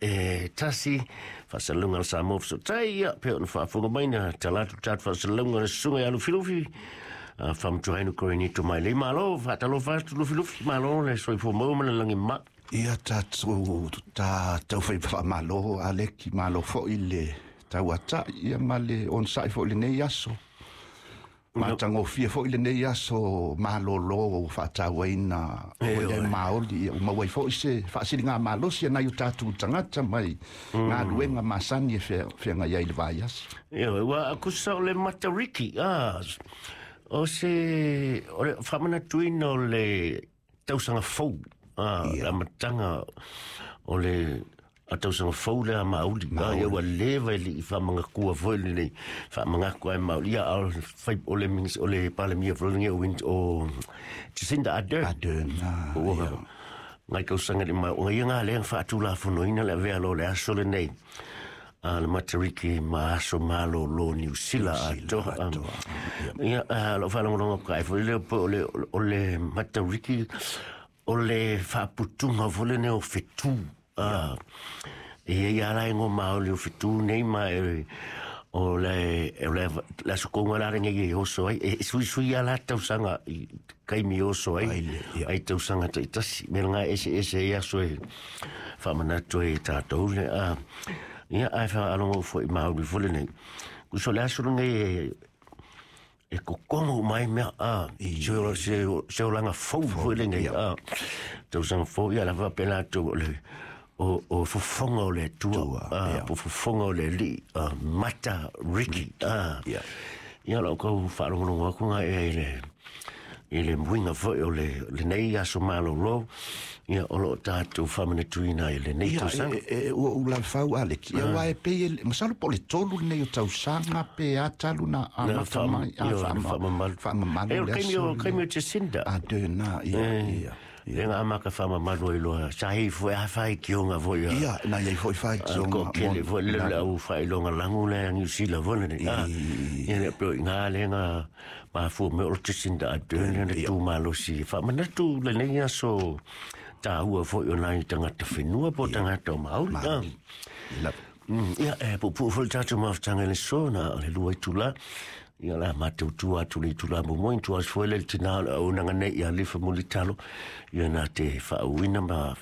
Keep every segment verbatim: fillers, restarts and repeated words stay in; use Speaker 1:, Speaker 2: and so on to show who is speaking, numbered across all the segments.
Speaker 1: e tasi faasalalauga a le Samoa Fesootai ia pe ona faafofoga mai na talatu tatou faasalalauga le susuga ia Lufilufi faamatuaina Korinito mai lei malo faatalofa atu Lufilufi malo le soifua maua ma le lagi ma.
Speaker 2: Ia tatou ta tau fai faamalo Aleki, malo foi le tauata'i ia ma le onosa'i foi lenei aso. Matagofie foi lenei aso malōlō ua faatauaina o le maoli ia ua maua ai foi se faasiliga malosi e nai o tatou tagata mai galuega masani e feagai ai le vaiaso.
Speaker 1: Ia ua akusa o le Matariki a o se o le faamanatuina o le tausaga fou a le amataga o le a tausaga fou lea mauli a ia ua leva i le faamagatua foi lenei faamagaku ai mauli ia a fai o le o le Palemia foi lenei o o Jacinda Ardern
Speaker 2: Ardern
Speaker 1: ua ngai tausaga le ma o ia ngā lea faatulafonoina le avea loa o le aso lenei a le Matariki ma aso malōlō Niu Sila atoa. Ia lou faalogologo kai foi lea po o le o le Matariki o le faaputuga foi lenei o fetū a e ia la ngo maoli o fetu nei ma e o le o le la sukonga la lenei e oso ai e sui sui ala tausaga i kaimi oso ai ai tausaga taitasi me nga ese ese ia so e faamanatu e tatou le a ia ai faalongo foi maoli foi lenei kuso le aso lenei e kokongo mai mea a se se se olaga fou foi lenei a tausaga fou ia lava pela atu o le o o fofoga o le Atua a po fofoga o le Alii Mata Riki a ia lau kau faalogologo atu ga e le i le muiga foi o le lenei aso malōlō ia o loo tatou faamanatuina i lenei tausaga.
Speaker 2: E ua ou lalafau Aleki ia uae pei masalo po o le tolu lenei o tausaga pe a talu na amata mai
Speaker 1: faamamalu
Speaker 2: faamamalu
Speaker 1: le aso o kaimi o Jacinda
Speaker 2: Ardern ia ia
Speaker 1: le nga maka faamamalu ai loa sahi foi a faitioga foi
Speaker 2: ia na iai foi faitioga
Speaker 1: ko kele foi le le au faailoga lagu le Niu Sila foi lenei a ia le pe nga le nga mafua me o le Jacinda Ardern le tumalosi faamanatu lenei aso tāua foi o nai tagata whenua po tagata o Maori. Ia e puupuu foi le tatou mafutaga i le so na o le lua itulā ia la matou tua atu le itulā muamua tua atu foi le tinā o le auaunaga nei ia Alifa Mulitalo ia na te faauuina ma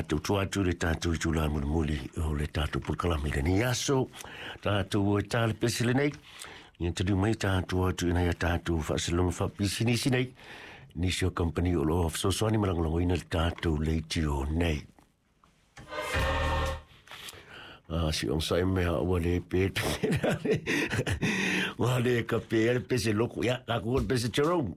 Speaker 1: tautua atu le tatou itulā mulimuli o le tatou polokalame i lenei aso tatou e tā le pese lenei ia taliu mai tatou atu ina ia tatou faasalaga faapisinisi nei nisi o kampani o loo fesoasoani ma lagolagoina le tatou leitio nei. Ah, si on sai mea ua le pe ua le ka pe le pese loko ia ka ku le pese Jerome.